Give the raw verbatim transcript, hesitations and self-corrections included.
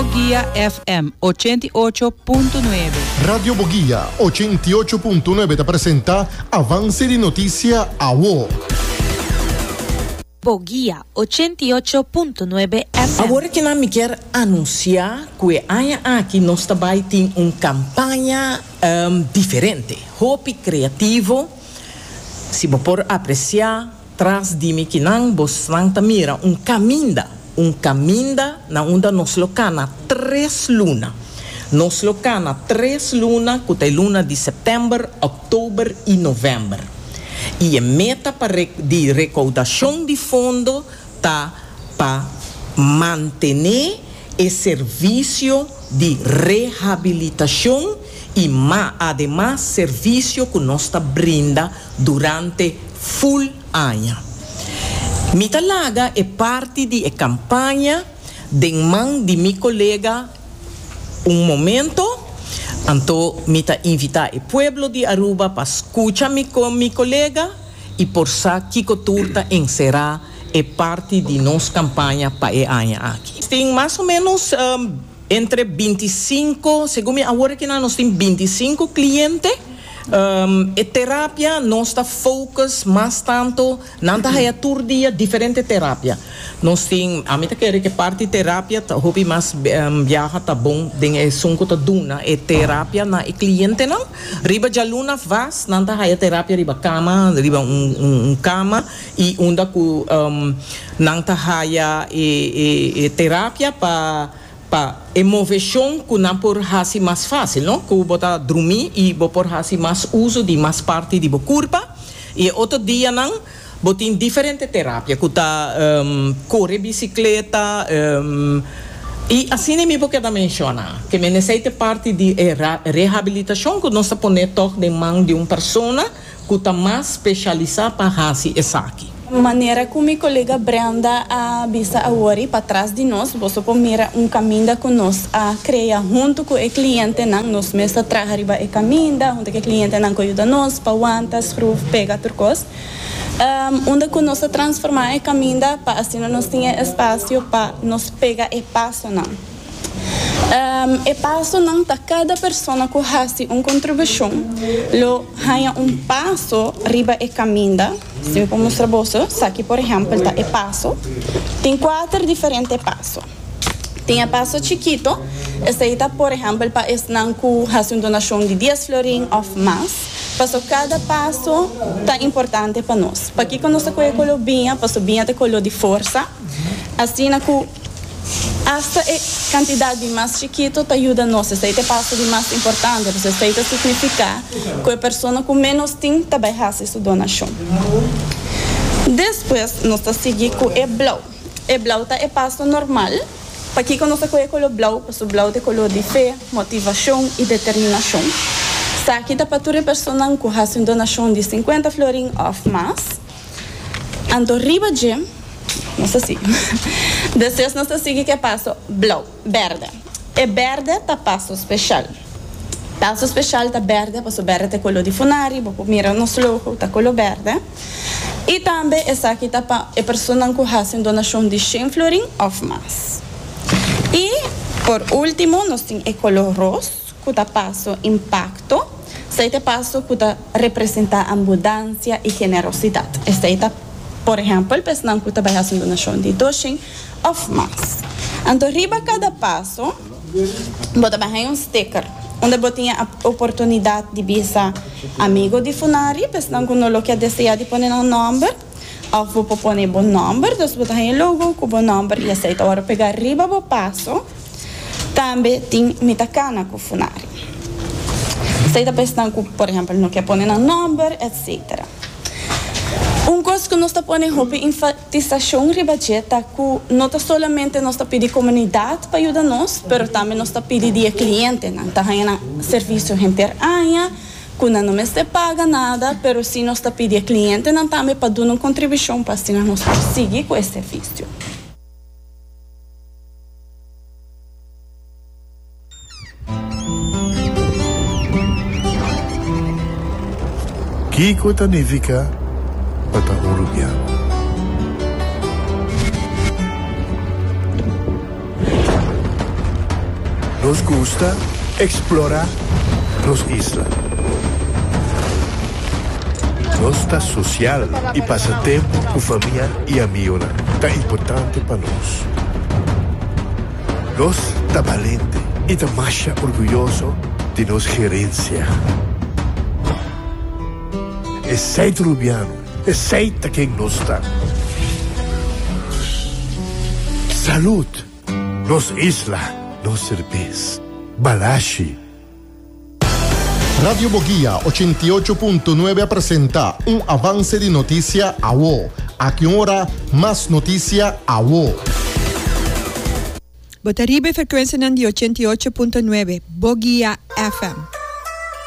Boguia F M ochenta i ocho punto nuebe. Radio Boguia ochenta i ocho punto nuebe ta presenta Avance di Noticia Awo. Boguia ochenta i ocho punto nuebe F M. Awor cu mi kier anuncia cu aña aki nos tambe tin un campaña um, diferente, hopi creativo. Si bo por aprecia, tras di mi kinan, boso ta mira un caminda, un caminda na unda nos lo cana tres luna. Nos lo cana tres luna, cu ta luna di september, october y november. Y e meta pa di recaudacion di fondo ta pa mantene e servicio di rehabilitacion y mas ademas servicio cu nos ta brinda durante full aña. Mi ta laga e parti di e campaña den man di mi colega un momento. Anto mi ta invita e pueblo di Aruba pa scucha mi cu mi colega y por sa kico tur ta encera e parti di nos campaña pa e aña aki. Tin mas o menos um, entre binticinco, segun mi awor cu nos tin binticinco cliente. Um, e terapia nos ta focus mas tanto nan ta haya tur dia diferente terapia. Nos tin, ami ta kere cu parti terapia ta hopi mas um, biaha ta bon den esun cu ta duna e terapia na e cliente nan. Riba dialuna vast nan ta haya terapia riba cama, riba un, un, un cama y unda cu um, nan ta haya e, e, e terapia pa pa e movecion cu nan por hasi mas facil, no? Cu bo ta drumi y bo por hasi mas uso di mas parti di bo curpa. Y otro dia nan bo tin diferente terapia, cu ta um, core bicicleta, um, y asina mi por keda menciona, cu mi necesita parti di eh, rehabilitacion cu nos ta pone toch den man di un persona cu ta mas specialisa pa hasi esaki. Manera cu mi colega Brenda a bisa awor, patras di nos, bo por mira un caminda cu nos a crea hunto cu e cliente nan. Nos mes a traha riba e caminda, hunto cu e cliente nan cu a yuda nos, pa wanta, schroef, pega tur cos. Um, unda cu nos a transforma e caminda pa asina nos tin espacio pa nos pega e paso nan. Um, e paso nan ta cada persona cu hasi un contribucion lo haya un paso riba e caminda. Si mi por mustra boso, aki, por ehempel, ta e paso. Tin cuater diferente paso. Tin e paso chikito, esey ta, por ehempel, pa esnan cu hasi un donacion di dies florin of mas. Paso cada paso ta importante pa nos. Pakico nos a scohe color biña, paso biña ta color di forsa. Asina cu hasta e cantidad di mas chikito ta yuda nos. Esey ta e paso di mas importante, pasobra esey ta significa cu e persona cu menos tin tambe ta hasi su donacion. Despues, nos ta sigui cu e blauw. E blauw ta e paso normal. Pakico nos a scohe color blauw, pasobra blauw ta color di fe, motivacion y determinacion. Esaki ta pa tur persona cu hasi un donacion di cincuenta florin of mas. Anto riba dje, nos ta sigui. Despues nos ta sigui cu e paso blauw, berde. E berde ta paso special. Paso special ta berde, paso berde ta color di Funari, bo mira nos logo, ta color berde. Y tambe esaki ta pa e persona cu hasi un donacion di shen florin of mas. Y, por ultimo, nos tin e color rosa, cu ta paso impacto. Esey ta paso cu ta representa abundancia y generosidad. Esey ta, por ehempel, persona cu ta bay hasi un donacion di dos of mas. Anto, riba cada paso, bo ta bay un sticker, unda bo tin e oportunidad di bisa amigo di Funari, persona cu no lo kier desea di pone nan nomber, of bo pone bo nomber, dus bo tin logo cu bo nomber y esey ta ora pega riba bo paso. Tambe tin "Mi ta cana cu Funari". Esey ta persona cu, por ehempel, no kier pone nan nomber, et cetera. Un cos cu nos ta pone hopi enfatisacion riba ta cu no ta solamente nos ta pidi comunidad pa yuda nos, pero tambe nos ta pidi di cliente, nan ta haya servicio henter aña, cu nan no mester paga nada, pero si nos ta pidi cliente nan tambe pa duna un contribucion pa asina nos sigui cu e servicio. Kico ta nifica pa ta Arubiano? Nos gusta explora nos isla. Nos ta social y pasa tempo cu famia y amigo. Ta importante pa nos. Nos ta balente y ta mas orguyoso di nos herencia. Esey Rubiano, esey ta ken nos ta. Salud, nos isla, nos cerbes, Balashi. Radio Boguia ochenta i ocho punto nuebe presenta un avance di noticia awo. Aki ora, mas noticia awo. Bo ta riba e frecuencia di ochenta i ocho punto nuebe, Boguia F M.